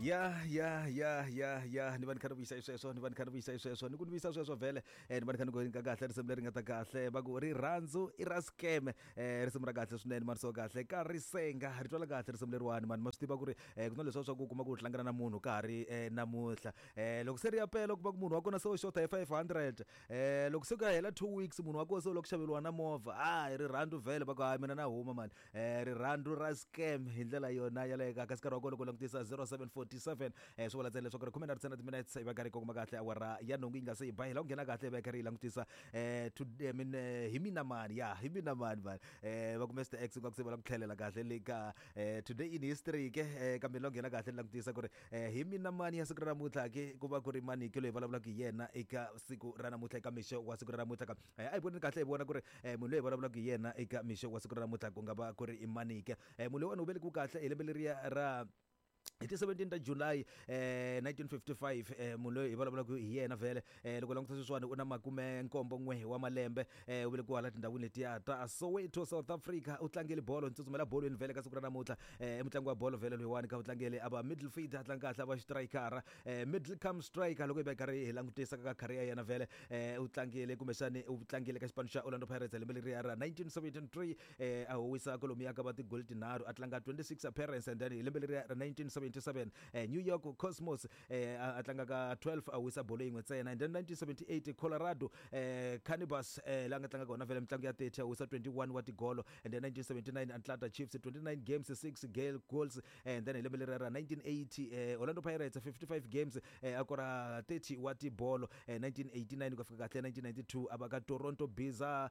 Ya ya ya ya ya, ni va ni kha ni vuyisa sweswo, ni va ni kha ni vuyisa sweswo, ni ku ni vuyisa sweswo vhele. Ni va ni kha ni ku ka kahle risimu leri nga ta kahle, va ku rirhandzu i ra scam. Risimu ra kahle swinene mani, so kahle ka risenga ri twala kahle risimu leriwani mani. Ma swi tiva ku ri ku na leswiya swa ku kuma ku tlangela na munhu ka ha ri namuntlha, loko se ri ya pela u kuma ku munhu wa kona se u xota hi 500. Loko se ku ya hela 2 weeks munhu wa kona se u lava ku xaveriwa na movha. Hayi, rirhandzu vhele, va ku hayi, mina na huma mani. Rirhandzu ra scam hi ndlela yona yaleyo. Ka kasi nkarhi wa kona loko langutisa 0747, swi vula ntsena leswaku ri khume na ri timinutes yi va karhi yi kongoma kahle awara ya nhungu yi nga se yi ba. Hi la ku nghena kahle hi va hi karhi hi langutisa to I mean, hi mina mani, ya hi mina mani mani. Va ku Mr X nga ku se va la ku tlhelela kahle le ka today in history ke. Kambe la ku nghena kahle ni langutisa ku ri hi mina mani ya siku ra namuntlha ke, ku va ku ri mani ke loyi vulavulaka hi yena eka siku ra namuntlha, eka mixo wa siku ra namuntlha ka. A hi voneni kahle hi vona ku ri munhu loyi hi vulavulaka hi yena eka mixo wa siku ra namuntlha ku nga va ku ri i manike. Munhu loyiwani u velekiwe kahle hi lembe leriya ra hi ti 17 ta July 1955. Munhu loyi hi vulavulaka hi yena vhele, loko languta sweswiwani u na makume nkombo n'we wa malembe. U velekiwa hala tindhawini letiya ta Soweto, South Africa. U tlangele bolo, ni tsutsumela bolweni vhele ka siku ra namuntlha. I mutlangi wa bolo vhele loyiwani ka, u tlangele a va midfielder, a tlanga kahle a va striker, middle come striker. Loko hi va hi karhi hi langutisa ka career ya yena vhele, u tlangile kumbexani u tlangile ka xipano xa Orlando Pirates lembe leriya ra 1973, a howisa kwalomuya ka va tigoli tinharhu, a tlanga 26 appearance. And then hi lembe leriya ra 1977, New York Cosmos, a tlanga ka 12, a wisa bolo yin'we ntsena. And then 1978, Colorado Cannibals, la nga tlanga kona vhele mitlangu ya 30, a wisa 21 wa tigolo. And then 1979, Atlanta Chiefs, 29 games, 6 goals. And then hi lembe leriya ra 1980, Orlando Pirates, 55 games, a kora 30 wa tibolo. 1989 ku fika kahle 1992, a va ka Toronto Biza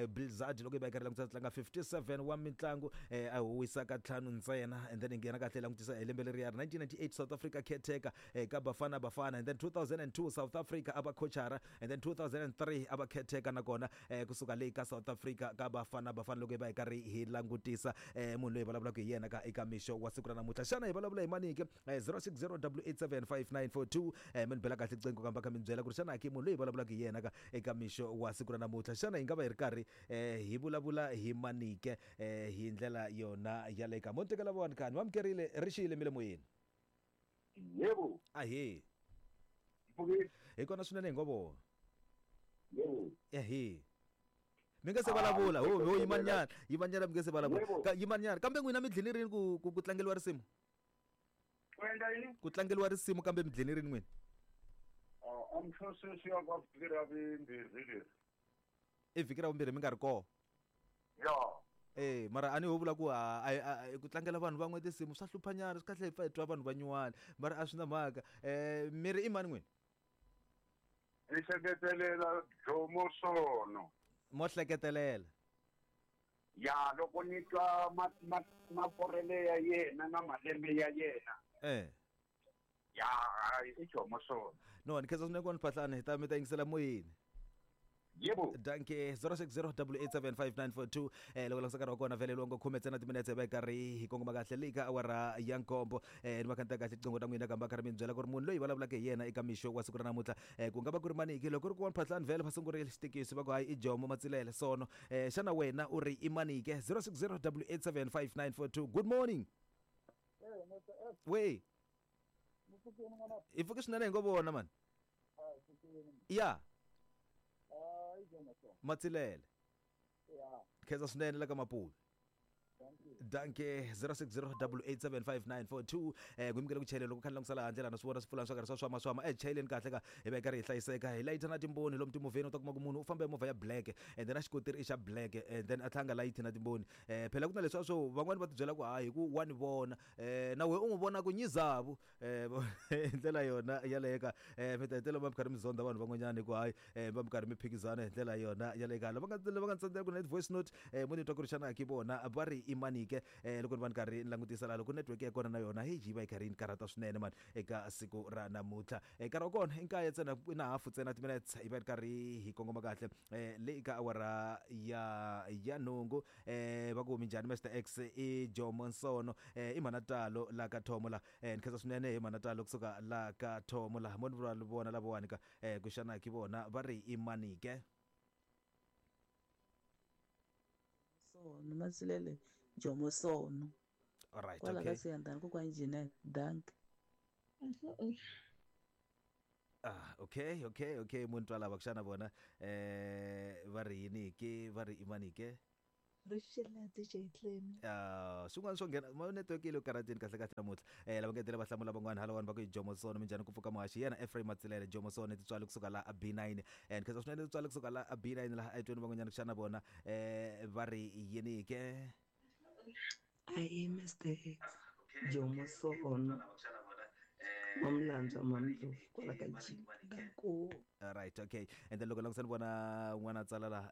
Blizzard, loko yi va yi karhi langutisa tlanga 57 wa mitlangu, a huwisa ka ntlhanu ntsena. And then hi nghena kahle langutisa hi lembe leriya ra 1998, South Africa caretaker, ka Bafana Bafana. And then 2002, South Africa a va coachara. And then 2003 a va caretaker nakona, kusuka leyi ka South Africa ka Bafana Bafana. Loko hi va hi karhi hi langutisa munhu loyi hi vulavulaka hi yena ka eka mixo wa siku ra namuntlha, xana hi vulavula hi manike? 0608875942, mi ni bela kahle qingho kamba kha mi ni byela ku ri xana ki munhu loyi hi vulavulaka hi yena ka eka mixo wa siku ra namuntlha, xana hi nga va hi ri karhi hi vulavula hi manike hi ndlela yona yaleyo ka? Mo ni tekela vona kani vamukerile ri xiyile mi le moyeni. Yebo. Ahee. Mpfukile. Hi kona swinene hi ngo vona. Yebo. Ehe, mi nga se vulavula ho ho, yimanyana yimanyana, mi nga se vulavula. Yebo. Yimanyana, kambe n'wina mi dlini rini ku tlangeliwa risimu? U endla yini? Ku tlangeliwa risimu, kambe mi dlini rini n'wina? Ah, I'm sure sweswi ya ka vhiki ra vumbirhi leri. I vhiki ra vumbirhi mi nga ri koho? Ya. Mara a ni ho vula ku ku tlangela vanhu van'we tinsimu swa hluphanyana, swi kahle hi pfa hi twa vanhu va nyuwani, mara a swi na mhaka. Mi ri i mani n'wina? Ni hleketelela Jomo Sono. Mo hleketelela? Ya, loko ni twa makorele ya yena na malembe ya yena. Ya, hayi, i Jomo Sono. No, ni khensa swinene ku va ni phahlani, hi ta mi ta yingisela moyeni. Yebo. Danke. 0608875942. Loko langutisa nkarhi wa kona vhele longo khume ntsena timinetse va karhi hi kongoma kahle leyi ka awara ya nkombo. Ni va kha kahle tiqingho ta n'wina kamba karhi mi ni byela ku ri munhu loyi vulavulaka hi yena eka mixo wa siku ra namuntlha, ku nga va ku ri maniki? Loko ri ku wa phahlani vhele va sungurile xitikisi, va ku hayi, i Jomo Matsilele Sono. Xana wena u ri i manike? 0608875942. Good morning. We hi pfuke swinene hi ngo vona mani. Ya, Matsilele, khensa swinene la ka Mapuve. Danke. 0608875942. Ku yimukele ku chayela loko kha ni langusela handle lana, swi vona swipfulani swa karhi swa swama swama. Chayeleni kahle ka hi va hi karhi hi hlayiseka, hi layita na timboni lomu timovheni. U ta kuma ku munhu u famba hi movha ya black and then a xikotiri i xa black and then a tlhanga layithi na timboni. Phela ku na leswiya swo van'wani va tibyela ku hayi, hi ku wa ni vona, na wehe u n'wi vona ku nyizavu. Hi ndlela yona yaleyo ka, mi ta hetelela mi karhi mi zonda vanhu van'wanyana hi ku hayi, va mi karhi mi phikizana hi ndlela yona yaleyo ka. Lava nga tsandzela ku na voice note, mo ni twa ku ri xana ki vona va ri i manike. Loko ni va ni karhi ni langutisa laha, loko network ya kona na yona heyi yi va yi karhi yi ni karhata swinene mani eka siku ra namuntlha. Nkarhi wa kona i nkaye ntsena na hafu ntsena timinutes hi va ri karhi hi kongoma kahle leyi ka awara ya nhungu. Va ku minjhani Mr X? I Jomo Nsono, i mhana talo la ka thomo la. Ni khensa swinene hi mhana talo kusuka la ka thomo la. Mo ni vona lavawani ka, ku xana ki vona va ri i manike? Sono Matsilele Jomo Sono. Alright. Kwala okay. Ka Siyandhani kokwa engineer. Dankie. Ah, okay, okay, okay. Munhu twa lava kuxana vona va ri yini ke, va ri i mani ke? Rixile DJ Clem. Ah, swin'wana swo nghena ma network yi le ku karhateni kahle kahle namuntlha. Lava ngetele va hlamula van'wana halawani va ku i Jomo Sono minjhani ku pfuka muhaxi yena Ephraim Matsilele Jomo Sono titswali kusuka la a B9. Ni khensa swinene titswali kusuka la a B9 laha etweni van'wanyana kuxana vona va ri yini ke? Ayi Mr X Jomo Sono Mamlandzwa Mamdlovu kwala ka G Nkaku. Right, okay. And then loko langutisa ni vona un'wana a tsala laha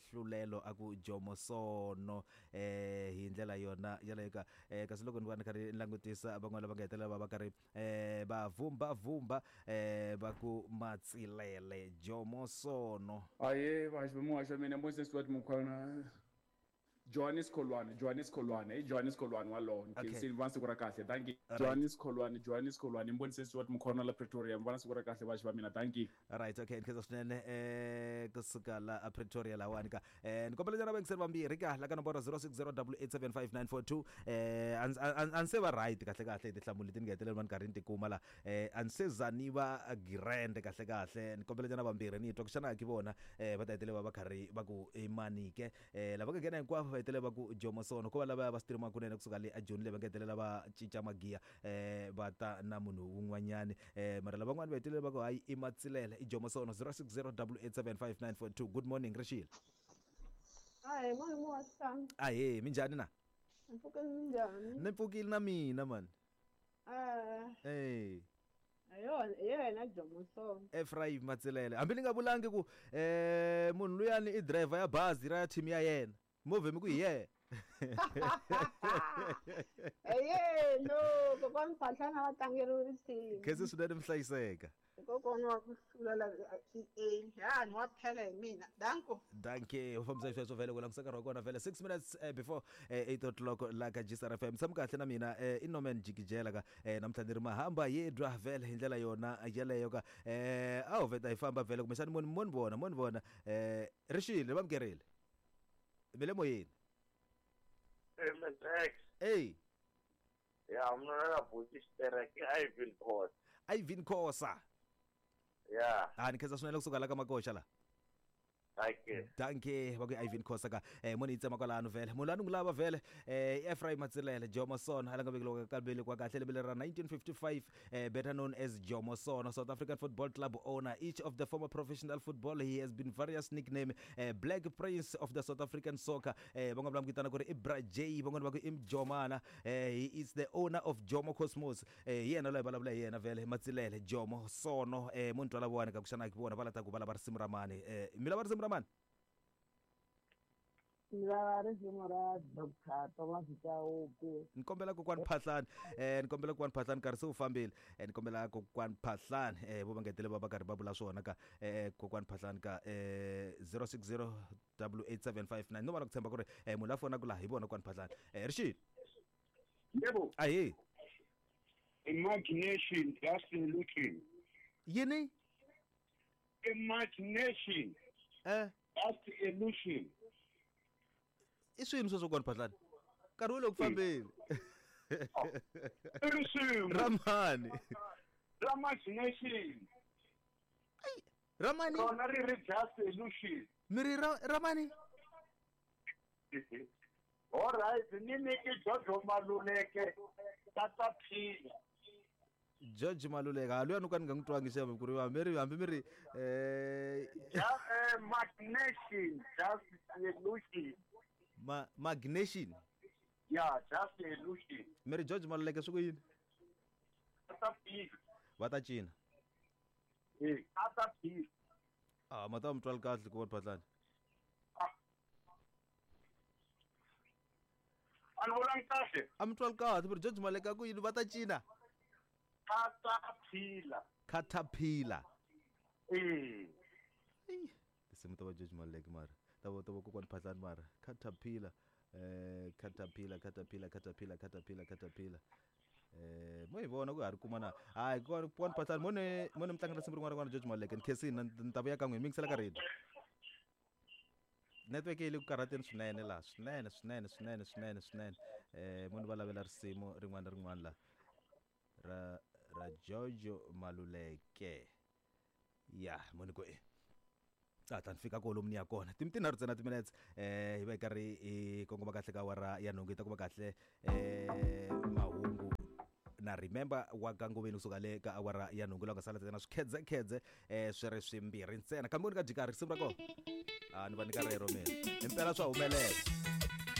hlulelo a ku Jomo Sono hi ndlela yona yaleyo ka kasi loko ni va ni karhi ni langutisa van'wana lava nga hetelela va va karhi va vhumba vhumba va ku Matsilele Jomo Sono. Ahee vahaxi va muhaxi wa mina Moses Stuart Mukhwana Johannes Kholwane Johannes Kholwane i Johannes Kholwane walowo ni khensile ni vona siku ra kahle dankie Johannes Kholwane Johannes Kholwane ni vonise Stuart Mukhwana la Pretoria ni vona siku ra kahle vaxi va mina dankie. Right, okay, ni khensa swinene kusuka la a Pretoria lahawani ka ni kombela nyana vayingiseri vambirhi ka la ka nomboro 0608875942 a ni se va right kahle kahle hi tinhlamulo leti ni nga hetelela va ni karhi ni ti kuma la a ni se za ni va grand kahle kahle ni kombela nyana vambirhi ni twa ku xana ki vona va ta hetelela va va karhi va ku i mani ke. Lava nga nghena hinkwavo va hetelela va ku Jomo Sono ko va lava va streama kunene kusuka le a Joni le va nga hetelela va cinca magiya va ta na munhu wun'wanyani mara lavan'wani va hetelela va ku hayi i Matsilele i Jomo Sono 0608875942 good morning Rixile. Ahee malume wa xitanga. Ahee minjhani na? Ni pfukile minjhani? Ni pfukile na mina mani. Eh. Hi yona hi yena Jomo Sono. Ephraim Matsilele hambi ni nga vulangi ku munhu luyani i driver ya bazi ra team ya yena movhe mi ku hi yena. Eye no kokwani Phahlana va tlangeriwe risimu. Khensi swinene mi hlayiseka. Kokwana wa ku hlula la EA ya ni wa phela hi mina danko. Dankie u fambisa xisweswo vhele ku langutisa nkarhi wa kona vhele 6 minutes before 8 o'clock la ka GCR FM tshami kahle na mina i Norman Jikijela ka namuntlha ni ri mahamba yedwa vhele hi ndlela yona yeleyo ka a ho vheta hi famba vhele kumbexani mo ni vona mo ni vona rixile va mukerile mi le moyeni. MSX. Ey. Ya mna la buti xitereke Ivan Khosa. Ivan Khosa. Ya. Ah ni khensa swinene kusuka la ka Makoxa la. Dankie. Dankie va ku Ivan Khosa ka mo ni yi tsema kwalano vhele munhu loyi a ni n'wi lava vhele i Ephraim Matsilele Jomo Sono a la nga vekeliwa ka velekiwa kahle lembe leri ra 1955 better known as Jomo Sono South African Football Club owner each of the former professional football he has been various nickname Black Prince of the South African soccer van'wana va n'wi vitana ku ri i Bra J van'wana va ku i Mjomana he is the owner of Jomo Cosmos hi yena loyi vulavula hi yena vhele Matsilele Jomo Sono munhu twala vona ka ku xana vona va lata ku va lava risimu ra mani mi lava risimu ra mani? Ni lava risimu ra Dr Thomas Chauke. Ni kombela kokwani Phahlani ni kombela kokwani Phahlani nkarhi se wu fambile ni kombela kokwani Phahlani vo va ngetele va va karhi va vula swona ka kokwani Phahlani ka 060 8759 no va na ku tshemba ku ri munhu la fonaka laha hi vona kokwani Phahlani rixile. Yebo. Ahee. Imagination just illusion. Yini? Imagination. Just illusion. I swini sweswo kokwani Phahlani? Nkarhi wu le ku fambeni. I risimu. Ra mani? Ra imagination. Ai, ra mani? Rona ri ri just illusion. Mi ri ra mani? All right, ni nyiki Jojo Maluleke tata phila. George Maluleke ha luya no ka ni nga n'wi twangi xana ku ri hambi mi ri Magnesium just illusion. Magnesium. Yeah, just illusion. Mi ri George Maluleke swi ku yini? Tata phila. Va ta cina. Tata phila. Ah, ma ta mi twali kahle ku va Phahlani. A ni vulangi kahle. A mi twali kahle, mi ri George Maluleke ku yini va ta cina? Caterpillar. Caterpillar. Tinsimu ta va George Maluleke mara ta va ta va kokwani Phahlani mara Caterpillar Caterpillar Caterpillar Caterpillar Caterpillar Caterpillar mo hi vona ku ha ri kuma na hayi kokwani Phahlani mo ni mo ni mi tlangela risimu rin'wana rin'wana George Maluleke ni khensini ni ta vuya ka n'wina mi yingisela ka radio. Network yi le ku karhateni swinene laha swinene swinene swinene swinene swinene mo ni va lavela risimu rin'wana na rin'wana laha ra Ra George Maluleke. Ya, moni ku e. A ta ni fika kolomu ni ya kona. Tinharhu ntsena timinetse hi va hi karhi hi kongoma kahle ka awara ya nhungu, hi ta kuma kahle mahungu na remember wa ka Ngoveni kusuka le ka awara ya nhungu, laha ku nga sala ntsena swikhedzekhedze swi ri swimbirhi ntsena. Kambe ni ka jikari risimu ra kona, a ni va nyika rero mina, impela swa humelela.